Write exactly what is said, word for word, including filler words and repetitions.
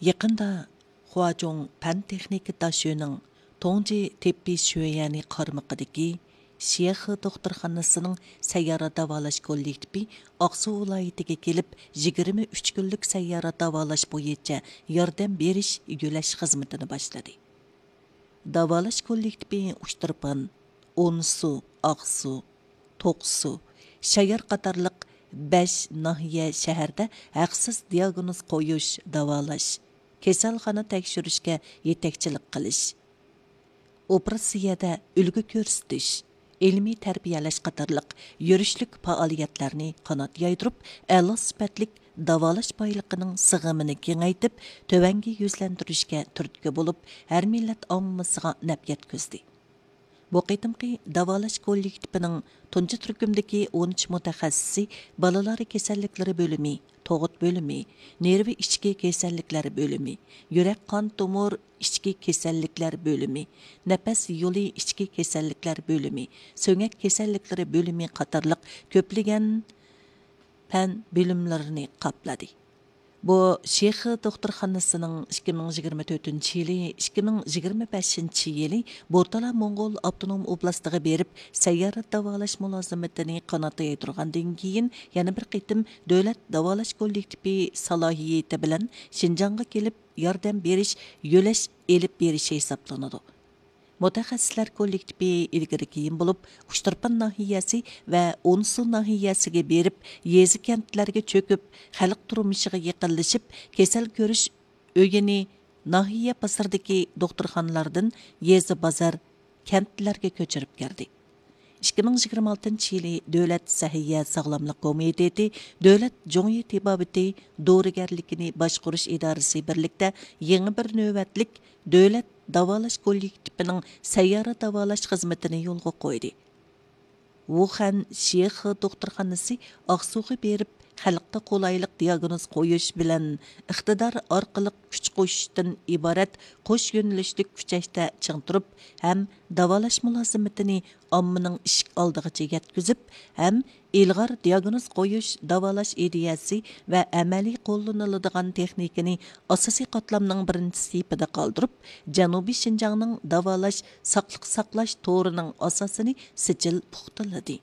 يېقىندا خۇاجۇڭ پەن تېخنىكا داشۆنىڭ توڭجى تېببىي شۆيەنى قارمىقىدىكى شيېخې دوختۇرخانىسىنىڭ سەييارە داۋالاش كوللېكتىپى ئاقسۇ ۋىلايىتىگە كېلىپ، يىگىرمە ئۈچ كۈنلۈك سەييارە داۋالاش بويىچە ياردەم بېرىش يۆلەش خىزمىتىنى باشلىدى. داۋالاش كوللېكتىپى ئۇچتۇرپان، ئونسۇ، ئاقسۇ، توقسۇ، شايار قاتارلىق بەش ناھىيە، شەھەردە ھەقسىز دىياگنوز قويۇش، داۋالاش، كېسەلخانا تەكشۈرۈشكە يېتەكچىلىك قىلىش، ئوپېراتسىيەدە ئۈلگە كۆرسىتىش، ئىلمىي تەربىيەلەش قاتارلىق يۈرۈشلۈك پائالىيەتلەرنى قانات يايدۇرۇپ، ئەلا سۈپەتلىك داۋالاش بايلىقىنىڭ سىغىمىنى كېڭەيتىپ، تۆۋەنگە يۈزلەندۈرۈشكە تۈرتكە بولۇپ، ھەر مىللەت ئاممىسىغا نەپ يەتكۈزدى. بۇ قېتىمقى داۋالاش كوللېكتىپىنىڭ تۇنجى تۈركۈمدىكى ئون ئۈچ مۇتەخەسسىسى بالىلار كېسەللىكلىرى بۆلۈمى، تۇغۇت بۆلۈمى، نېرۋا ئىچكى كېسەللىكلەر بۆلۈمى، يۈرەك قان تومۇر ئىچكى كېسەللىكلەر بۆلۈمى، نەپەس يولى ئىچكى كېسەللىكلەر بۆلۈمى، سۆڭەك كېسەللىكلىرى بۆلۈمى قاتارلىق كۆپلىگەن پەن بۆلۈملىرىنى قاپلىدى. بۇ شېخې دوختۇرخانىسىنىڭ ئىككى مىڭ يىگىرمە تۆتىنچى يىلى، ئىككى مىڭ يىگىرمە بەشىنچى يىلى بورتالا موڭغۇل ئاپتونوم ئوبلاستىغا بېرىپ، سەييارە داۋالاش مۇلازىمىتىنى قانات يايدۇرغاندىن كېيىن، يەنە بىر قېتىم دۆلەت داۋالاش كوللېكتىپى سالاھىيىتى بىلەن شىنجاڭغا كېلىپ، ياردەم بېرىش، يۆلەش ئېلىپ بېرىشى ھېسابلىنىدۇ. مۇتەخەسسىسلەر كوللېكتىپى ئىلگىرى كېيىن بولۇپ، ئۇچتۇرپان ناھىيەسى ۋە ئونسۇ ناھىيەسىگە بېرىپ، يېزا، كەنتلەرگە چۆكۈپ، خەلق تۇرمۇشىغا يېقىنلىشىپ، كېسەل كۆرۈش ئۆيىنى ناھىيە بازىرىدىكى دوختۇرخانىلاردىن يېزا، بازار، كەنتلەرگە كۆچۈرۈپ كەلدى. ئىككى مىڭ يىگىرمە ئالتىنچى يىلى دۆلەت سەھىيە ساغلاملىق كومىتېتى، دۆلەت جۇڭيى تېبابىتى دورىگەرلىكىنى باشقۇرۇش ئىدارىسى بىرلىكتە يېڭى بىر نۆۋەتلىك دۆلەت داۋالاش كوللېكتىپىنىڭ سەييارە داۋالاش خىزمىتىنى يولغا قويدى. ۋۇخەن شيېخې دوختۇرخانىسى ئاقسۇغا بېرىپ، خەلققە قولايلىق دىياگنوز قويۇش بىلەن ئىقتىدار ئارقىلىق كۈچ قوشۇشتىن ئىبارەت قوش يۆنىلىشلىك كۈچەشتە چىڭ تۇرۇپ ھەم داۋالاش مۇلازىمىتىنى ئاممىنىڭ ئىشىك ئالدىغىچە يەتكۈزۈپ، ھەم ئىلغار دىياگنوز قويۇش، داۋالاش ئىدىيەسى ۋە ئەمەلىي قوللىنىلىدىغان تېخنىكىنى ئاساسىي قاتلامنىڭ بىرىنچى سېپىدە قالدۇرۇپ، جەنۇبىي شىنجاڭنىڭ داۋالاش، ساقلىق ساقلاش تورىنىڭ ئاساسىنى سىجىل پۇختىلىدى.